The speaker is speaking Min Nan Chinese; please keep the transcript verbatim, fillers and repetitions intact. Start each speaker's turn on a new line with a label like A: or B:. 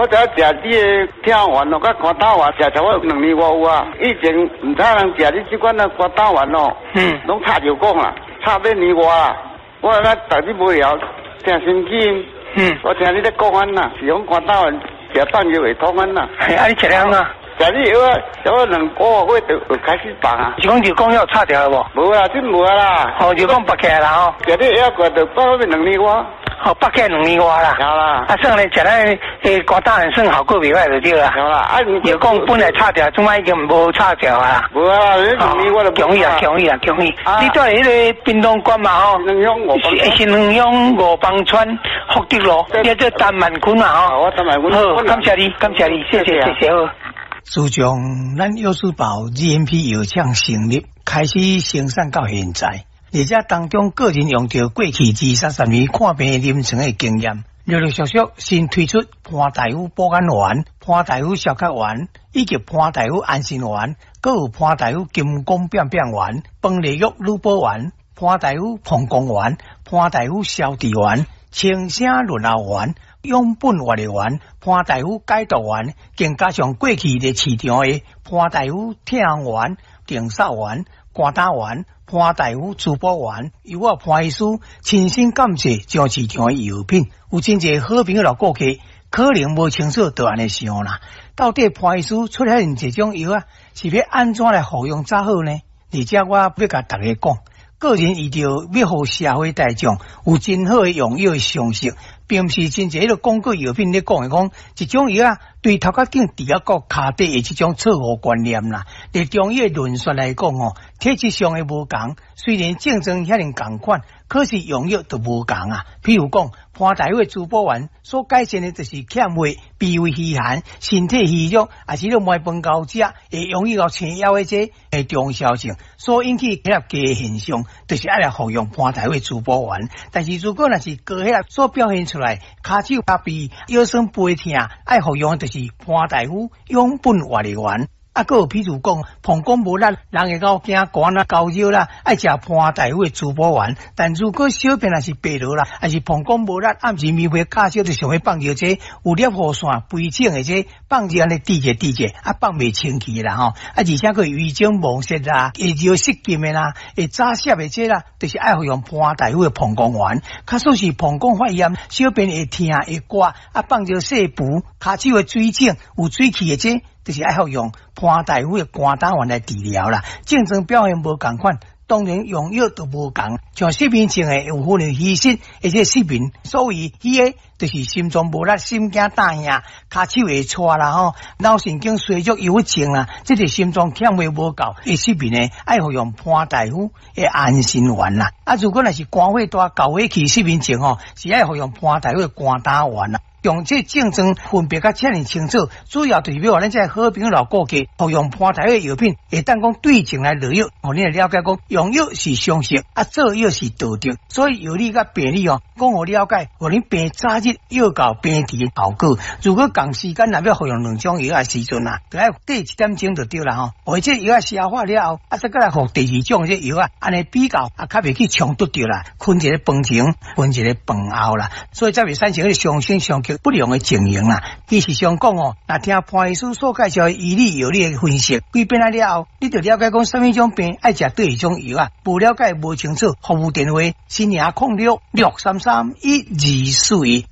A: 我知影食你的疼丸哦，佮肝胆丸食差不多兩年外有啊。以前毋知人食你這款的肝膽丸哦，
B: 嗯，
A: 攏插藥講啦，插欲年外啦。我那逐日無聊聽心經，
B: 嗯，
A: 我聽你咧講按啦，是講肝膽丸食放藥會通按啦。
B: 嘿，啊，你食了按怎？
A: 食你藥啊，差不多兩個月就就開始放啊。
B: 是講藥講有插掉無？
A: 無啦，這無啦。
B: 哦，藥講拔起來啦吼。
A: 食你藥過就放欲兩年外。
B: 哦，拔起來兩年外啦。
A: 有啦。
B: 啊，算咧，食咱的肝膽丸算效果袂歹就對啦。
A: 有啦，啊，
B: 藥講本來插掉，這擺已經無插掉啊。
A: 無啊，你兩年我就
B: 恭喜啊，恭喜啊，恭喜！你住佇彼个屏東縣嘛吼？
A: 新莊五
B: 是新莊五枋村福德路，你做陳萬坤嘛吼？
A: 我陳萬坤。
B: 好，感謝你，感謝你，謝謝，謝謝好。
C: 自從咱藥師寶 G M P 藥廠成立，開始生產到現在，而且當中個人用著過去二三十年看病臨床的經驗，陸陸續續新推出潘大夫保肝丸、潘大夫消渴丸以及潘大夫安心丸，閣有潘大夫金剛變變丸、崩利玉女寶丸、潘大夫膀胱丸、潘大夫消滯丸、清聲潤喉丸、養本活力丸、潘大夫解毒丸，更加上過去佇市場的潘大夫疼丸、定瘦丸、肝膽丸、潘大夫滋補丸，由我潘醫師親身感謝將市場的藥品，有真濟好朋友老顧客可能無清楚就按呢想啦。到底潘醫師出遐爾濟種藥仔，是欲按怎來服用才好呢？而且我欲共大家講，個人為著欲予社會大眾有真好的用藥的常識，並毋是真濟彼个廣告藥品咧講的講，一種藥仔對頭殼頂治到跤底的這種錯誤觀念啦。佇中醫的論述來講吼，體質上的無仝，雖然症狀遐爾仝款，可是用藥就無仝啊。譬如講，潘大夫的滋補丸所改善的就是欠血、脾胃虛寒、身體虛弱，抑是咧糜飯猴食會容易𠢕青枵的這个重效性所引起血壓低的現象，就是愛來服用潘大夫的滋補丸。但是如果若是高血壓所表現出來，跤手跤臂、腰酸背疼，愛服用的就是潘大夫養本活力丸。啊，閣有譬如講，膀胱無力，人會𠢕驚寒啦、高熱啦，愛食潘大夫的滋補丸。但如果小便若是白濁啦，抑是膀胱無力，暗時暝暝較少就想欲放尿，這有尿雨線肥腫的這放尿按呢滴者滴者，啊放袂清氣啦吼。啊，而且閣遺精無泄啦，會尿失禁的啦，會早泄的這啦，就是愛服用潘大夫的膀胱丸。假使是膀胱發炎，小便會疼會割，啊放尿細浮，跤手的水腫有水氣的這，就是愛服用潘大夫的肝膽丸來治療啦。症狀表現無仝款，當然用藥都無仝。像失眠症的有可能虛實，而且失眠，所謂虛的，就是心臟無力、心驚膽驚、跤手會掣啦吼，腦神經衰弱、憂鬱症啦，這個心臟欠血無夠會失眠的，愛服用潘大夫的安心丸啦。啊，如果若是肝火大、厚火氣失眠症吼，是愛服用潘大夫的肝膽丸啦。用這症狀分別甲遮爾清楚，主要就是欲予咱這好朋友老顧客服用潘大夫的藥品，會當講對症來落藥，予你來了解講用藥是常識，啊做藥是道德，所以藥理佮病理哦，講予了解，予恁病早日藥到病除的效果。如果仝時間若欲服用兩種藥的時陣啊，就愛綴一點鐘就對啦吼。予這藥仔消化了後，啊再閣來服第二種這藥仔，按呢比較啊，較袂去衝突著啦，分一个飯前，分一个飯後啦，所以才袂產生彼個相生相剋不良的情形啦。其實上講哦，若聽潘醫師所介紹的醫理藥理的分析，幾遍仔了後，你就了解講啥物種病愛食佗一種藥仔，無了解無清楚，服務電話：新營空六六三三一二四一。